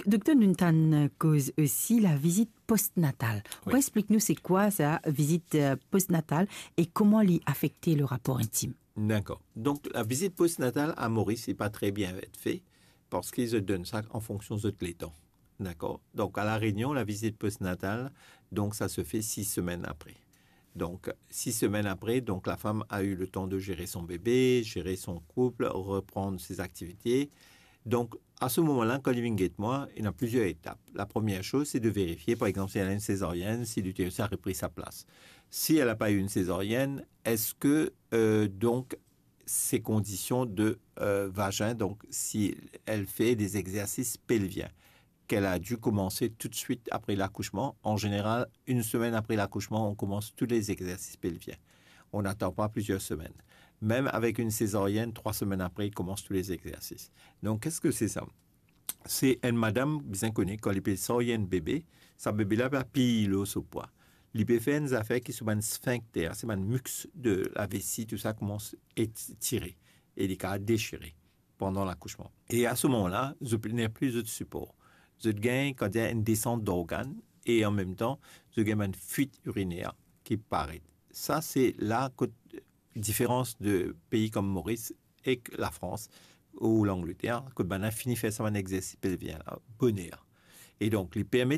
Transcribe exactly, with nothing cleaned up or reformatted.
Dokter, nou tann koz osi lavizit postnatal. Ou Wi. Explik nou se kwa sa, vizit euh, postnatal, e kouma li afekte le rapor intim? Dakor. Donk, lavizit postnatal a Moris, li pa tre bien et fe, parski zot donn sa an fonksion zot letan. Dakor. Donk, a La Rényon, lavizit postnatal, donk, sa se fe sis semenn apre. Donk, sis semenn apre, donk, lafam a eu letan de zere son bebe, zere son koup, reprann se aktivite. Donk, a se moman la, kan li vinn get mwa, ena plizier etap. La première chose, c'est de vérifier, par exemple, si elle a une césarienne, si l'utérus a repris sa plas. Si elle n'a pas eu une césarienne, est-ce que, euh, donc, ses conditions de euh, vagin, donc si elle fait des exercices pelviens, qu'elle a dû commencer tout de suite après l'accouchement. En général, une semaine après l'accouchement, on commence tous les exercices pelviens. On n'attend pas plusieurs semaines. Même avec une césarienne, trois semaines après, ils commencent tous les exercices. Donc, qu'est-ce que c'est ça? Se enn madam bizin kone, kan li pe sarye enn bebe, sa bebe la pe apiy lor so pwa. Li pe fer enn zafer ki so bann sphincter, se bann mus de lavesi, tou sa koumans etire e li kapav dechire pandan lakousman. E a se moman la, zot pe nepli zot sipor. Zot gagn, kan dir, enn desant d'organ e an mem tan, zot gagn bann fuit iriner ki paret. Sa se la kot diferans de pei kom Moris ek Lafrans ou Langleter, kot bann la fini fer sa bann exersis pelvien la boner. E donk, li permet